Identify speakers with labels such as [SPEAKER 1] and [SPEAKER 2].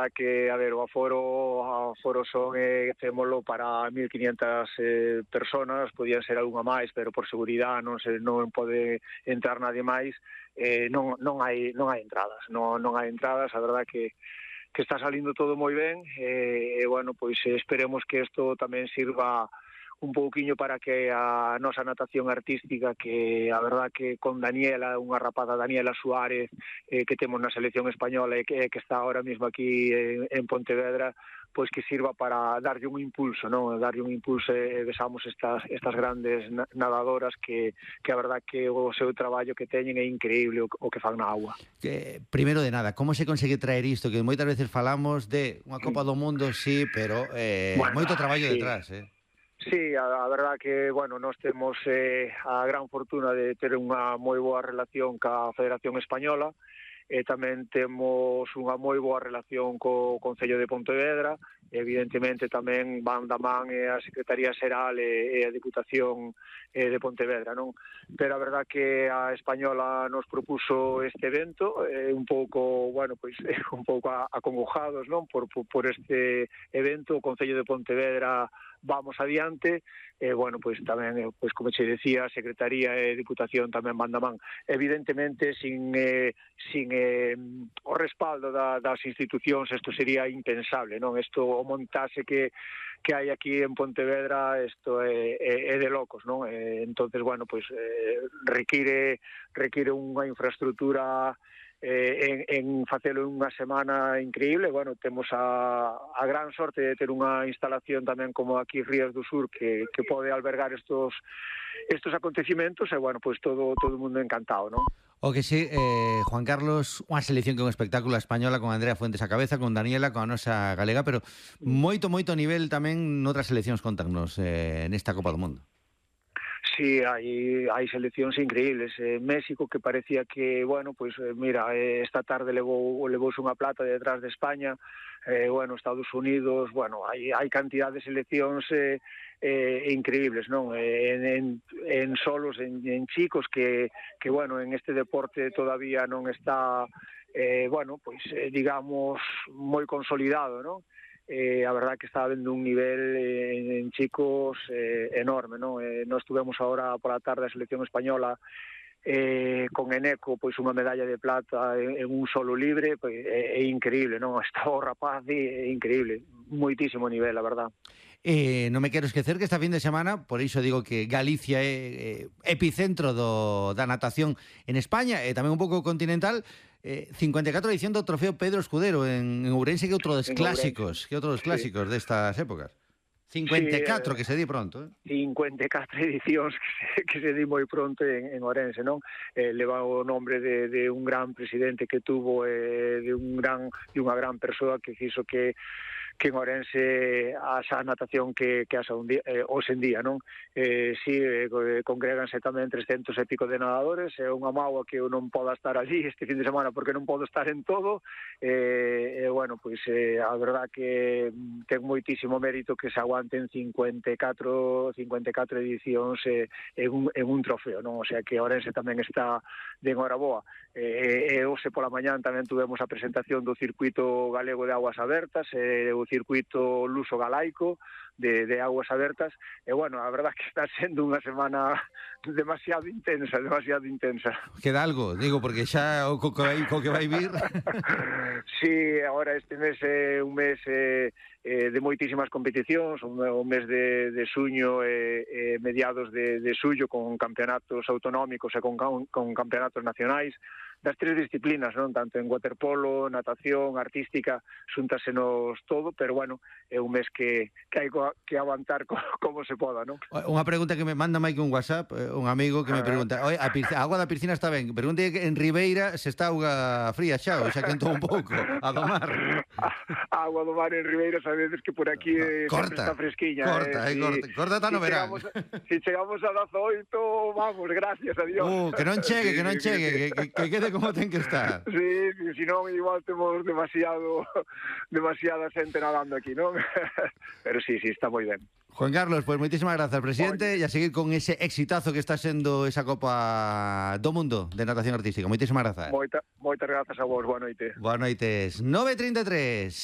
[SPEAKER 1] verdad que, a ver, o aforo son, témolo para 1.500 personas, podían ser algunha máis, pero por seguridade non pode entrar nadie máis, non hai entradas, non hai entradas, a verdad que está salindo todo moi ben, e, bueno, pois esperemos que isto tamén sirva un pouquiño para que a nosa natación artística, que a verdad que con Daniela, unha rapaza Daniela Suárez, que temos na selección española e que está ahora mesmo aquí en Pontevedra, pois que sirva para darlle un impulso, non? Darlle un impulso e besamos estas grandes nadadoras que a verdad que o seu traballo que teñen é increíble o que fan na agua.
[SPEAKER 2] Primeiro de nada, como se consegue traer isto? Que moitas veces falamos de unha Copa do Mundo, sí, pero moito traballo detrás,
[SPEAKER 1] Sí, a verdad que, bueno, nós temos a gran fortuna de ter unha moi boa relación ca Federación Española, e tamén temos unha moi boa relación co Concello de Pontevedra, e evidentemente tamén van da man a Secretaría Xeral e a Diputación de Pontevedra, non? Pero a verdad que a Española nos propuso este evento, un pouco, bueno, pois un pouco acongojados, non? Por este evento, o Concello de Pontevedra vamos adiante, bueno, pois tamén, pois como che decía, a Secretaría e Diputación tamén van da man. Evidentemente, sin o respaldo das institucións, isto sería impensable, non? Isto, o montase que hai aquí en Pontevedra, isto é de locos, non? Entonces, bueno, pois require unha infraestructura en facelo unha semana increíble. Bueno, temos a gran sorte de ter unha instalación tamén como aquí Rías do Sur que pode albergar estos acontecimentos, e bueno, pois todo o mundo encantado, non?
[SPEAKER 2] O que sí, Juan Carlos, unha selección que é un espectáculo española con Andrea Fuentes a cabeza, con Daniela, con a nosa galega, pero moito nivel tamén noutras seleccións, contanos, nesta Copa do Mundo.
[SPEAKER 1] Sí, hai seleccións increíbles. México, que parecía que, bueno, pois mira, esta tarde levouse unha plata detrás de España. Bueno, Estados Unidos, bueno, hai cantidad de seleccións increíbles, non? En solos, en chicos que, bueno, en este deporte todavía non está, bueno, pois digamos, moi consolidado, non? A verdad que está habendo un nivel en chicos enorme, non? Nós tuvemos agora pola tarde a selección española con Eneco, pois unha medalla de plata en un solo libre, pois é increíble, non? Está o rapaz é increíble, moitísimo nivel, a verdad.
[SPEAKER 2] Non me quero esquecer que esta fin de semana, por iso digo que Galicia é epicentro da natación en España e tamén un pouco continental, 54 edición do Trofeo Pedro Escudero en Ourense, que é outro dos clásicos, destas épocas. 54, que se di pronto.
[SPEAKER 1] 54 edicións que se di moi pronto en Ourense, non? Leva o nombre de un gran presidente que tuvo, de unha gran persoa que fixo que en Ourense asa natación que asa hoxe en día, non? Si, congréganse tamén 300 e pico de nadadores, é unha mágoa que eu non poda estar allí este fin de semana porque non podo estar en todo, bueno, pois a verdad que ten moitísimo mérito que se aguanten 54 edicións en un trofeo, non? O sea que Ourense tamén está de enhoraboa. Hoxe pola mañán tamén tuvemos a presentación do Circuito Galego de Aguas Abertas, o Circuito Luso Galaico de Aguas Abertas, e bueno, a verdad que está sendo unha semana demasiado intensa.
[SPEAKER 2] Queda algo, digo, porque xa o que vai vir.
[SPEAKER 1] Sí, agora este mes é un mes de moitísimas competicións, o mes de xuño e mediados de xullo, con campeonatos autonómicos e con campeonatos nacionais das tres disciplinas, non? Tanto en waterpolo, natación, artística, xúntasenos todo, pero bueno, é un mes que hai que aguantar como se poda, non?
[SPEAKER 2] Unha pregunta que me manda Mike un WhatsApp, un amigo que me pregunta: "Oi, a auga da piscina está ben?" Pregunta que en Ribeira se está auga fría xa, ou xa quentou un pouco, a do mar.
[SPEAKER 1] A agua do mar en Ribeira, sabedes que por aquí sempre está fresquiña.
[SPEAKER 2] Corta ata no verán.
[SPEAKER 1] Si chegamos a 18, vamos, gracias a Dios.
[SPEAKER 2] Que non chegue, que quede como ten que estar.
[SPEAKER 1] Sí, si non, igual temos demasiada xente nadando aquí, non? Pero sí, está moi ben.
[SPEAKER 2] Juan Carlos, pues moitísimas grazas, presidente, e a seguir con ese exitazo que está sendo esa Copa do Mundo de natación artística. Moitísimas grazas.
[SPEAKER 1] Moitas grazas a vos, boa noite.
[SPEAKER 2] Boas noites. 9:33.